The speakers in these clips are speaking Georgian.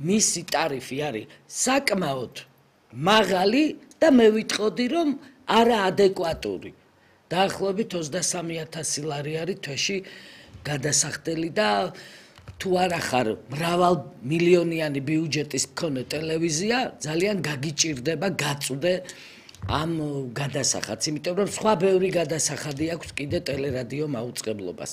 მისი ტარიფი არის საკმაოდ მაღალი და მე ვიტყოდი რომ არაადეკვატური. დაახლოებით 23,000 ლარი არის თვეში გადასახდელი და თუ არა ხარ მრავალ მილიონიანი ბიუჯეტის მქონე ტელევიზია, ძალიან გაგიჭირდება გაწუდე ამ გადასახადს, იმიტომ რომ სხვა ბევრი გადასახადი აქვს კიდე ტელერადიო მაუწყებლობას.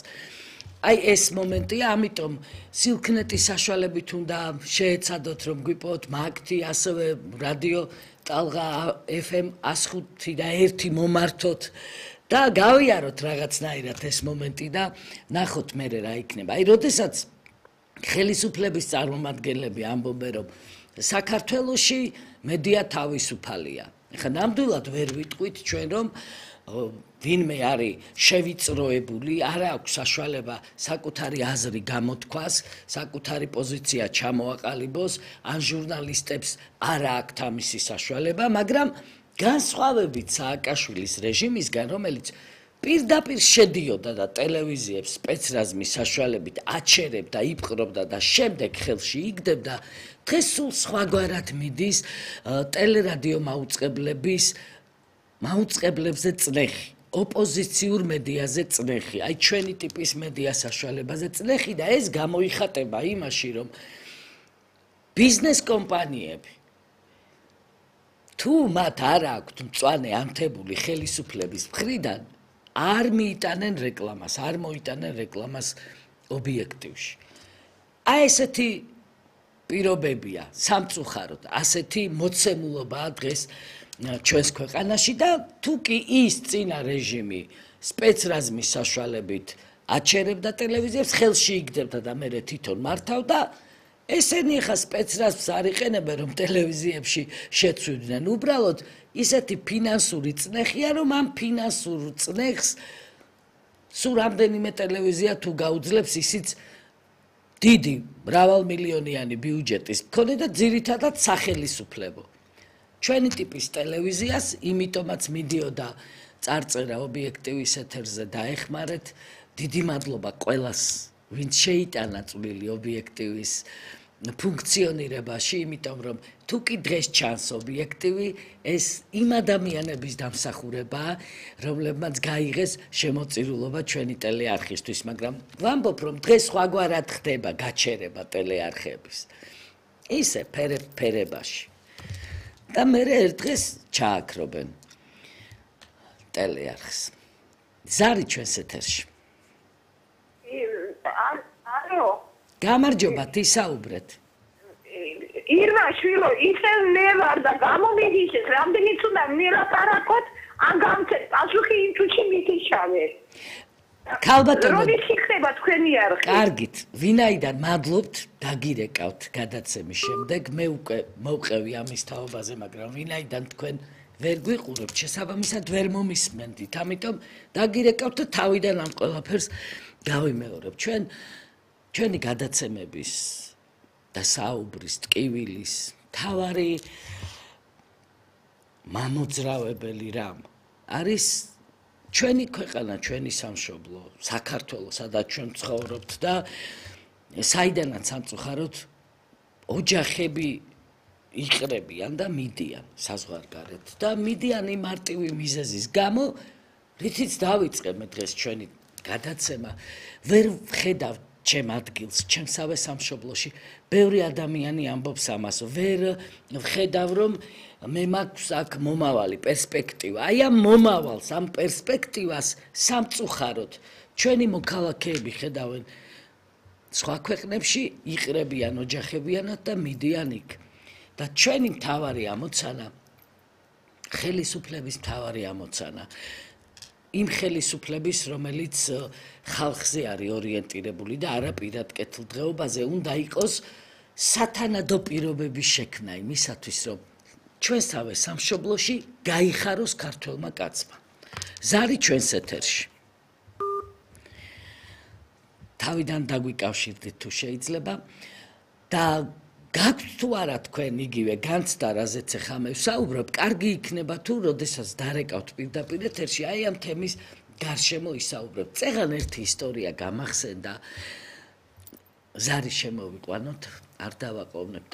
Აი ეს მომენტია, ამიტომ სილქნეტის საშუალებით უნდა შეეცადოთ რომ გვიპოვოთ მაგთი, ასევე რადიო ტალღა FM 105 და 1 მომართოთ და გავიაროთ რაღაცნაირად ეს მომენტი და ნახოთ მე რა იქნება. აი როდესაც ხელისუფლების წარმომადგენლები ამბობენ რომ საქართველოში მედია თავისუფალია. ეხლა ნამდვილად ვერ ვიტყვით ჩვენ რომ ვინმე არის შევიწროებული, არ აქვს საშუალება საკუთარი აზრი გამოთქვას, საკუთარი პოზიცია ჩამოაყალიბოს, ან ჟურნალისტებს არ აქვს ამისი საშუალება, მაგრამ განსხვავებით სააკაშვილის რეჟიმისგან, რომელიც პირდაპირ შედიოდა და ტელევიზიებს სპეცრაზმის საშუალებით აჩერებდა, იპყრობდა და შემდეგ ხელში იგდებდა, დღეს სულ სხვაგვარად მიდის ტელერადიო მაუწყებლებზე წნეხი. ოპოზიციურ მედიაზე წნეხი, აი ჩვენი ტიპის მედია საშუალებაზე წნეხი და ეს გამოიხატება იმაში, რომ ბიზნეს კომპანიები თუ მათ არ აქვთ მწვანე ანთებული ხელისუფლების მხრიდან არ მიიტანენ რეკლამას, არ მოიტანენ რეკლამას ობიექტივში. აი ესეთი პირობებია სამწუხაროდ, ასეთი მოცემულობაა დღეს ჩვენს ქვეყანაში და თუ კი ის წინა რეჟიმი სპეცრაზმის საშუალებით აჩერებდა ტელევიზიებს, ხელში იგდებდა და მე თვითონ მართავდა, ესენი ხა სპეცრაზმს არ იყენებენ რომ ტელევიზიებში შეცვლიდნენ. უბრალოდ ისეთი ფინანსური წნეხია, რომ ამ ფინანსურ წნეხს სულ რამდენიმე ტელევიზია თუ გაუძლებს ისიც დიდი მრავალმილიონიანი ბიუჯეტის მქონე და ძირითადად სახელისუფლებო. ჩვენი ტიპის ტელევიზიას იმიტომაც მიდიოდა წარწერა ობიექტივის ეთერზე დაეხმარეთ. დიდი მადლობა ყველას, ვინც შეიტანა წვლილი ობიექტივის ფუნქციონირებაში, იმიტომ რომ თუ კი დღეს ჩანს ობიექტივი, ეს იმ ადამიანების დამსახურებაა, რომლებმაც გაიღეს შემოწირულობა ჩვენი ტელეარხისთვის, მაგრამ ვამბობ, რომ დღეს სხვაგვარად ხდება გაჩერება ტელეარხების. ისე ფერებაში. და მე ერთ დღეს ჩააქრობენ ტელეარხს. ზარი ჩვენს ეთერში. ალო. გამარჯობა, ისაუბრეთ. ირმა შვილო, ისე მე ვარ და გამომიგიშეს, რამდენიც უნდა მილაპარაკოთ, ან გამცეთ პასუხი იმ თუჩი მითიშავე. ქალბატონო, როდის იქნება თქვენი არხი? კარგით, ვინაიდან მადლობთ, დაგირეკავთ გადაცემის შემდეგ, მე უკვე მოვყევი ამის თაობაზე, მაგრამ ვინაიდან თქვენ ვერ გვიყურებთ, შესაბამისად ვერ მომისმენდით, ამიტომ დაგირეკავთ და თავიდან ამ ყველაფერს გავიმეორებ. ჩვენი გადაცემების და საუბრის, ტკივილის მთავარი მამოძრავებელი რამ არის ჩვენი ქვეყანა, ჩვენი სამშობლო, საქართველო, სადაც ჩვენ ცხოვრობთ და საიდანაც სამწუხაროდ ოჯახები იყრებიან და მიდიან საზღვარგარეთ და მიდიან იმ მარტივი მიზეზის გამო, რითიც დავიწყე მე დღეს ჩვენი გადაცემა, ვერ ვხედავ ჩემ ადგილს, ჩემსავე სამშობლოში, ბევრი ადამიანი ამბობს ამას, ვერ ვხედავ რომ მე მაქვს აქ მომავალი პერსპექტივა. აი ამ მომავალს, ამ პერსპექტივას სამწუხაროდ ჩვენი მოქალაქეები ხედავენ სხვა ქვეყნებში, იყრებიან ოჯახებიანად და მიდიან იქ. და ჩვენი მთავარი ამოცანა, ხელისუფლების მთავარი ამოცანა, იმ ხელისუფლების, რომელიც ხალხზე არის ორიენტირებული და არა პირად კეთილდღეობაზე, უნდა იყოს სათანადო პირობების შექმნა იმისათვის, რომ ჩვენსავე სამშობლოში გაიხაროს ქართველმა კაცმა. ზარი ჩვენს ეთერში. თავიდან დაგვიკავშირდით თუ შეიძლება და გაქვთ თუ არა თქვენ იგივე განცდა, რაზეც ახლა მე ვსაუბრობ, კარგი იქნება თუ როდესაც დარეკავთ პირდაპირ ეთერში, აი ამ თემის გარშემო ისაუბრებთ. წეგან ერთი ისტორია გამახსენდა, ზარი შემოვიყვანოთ, არ დავაყოვნებ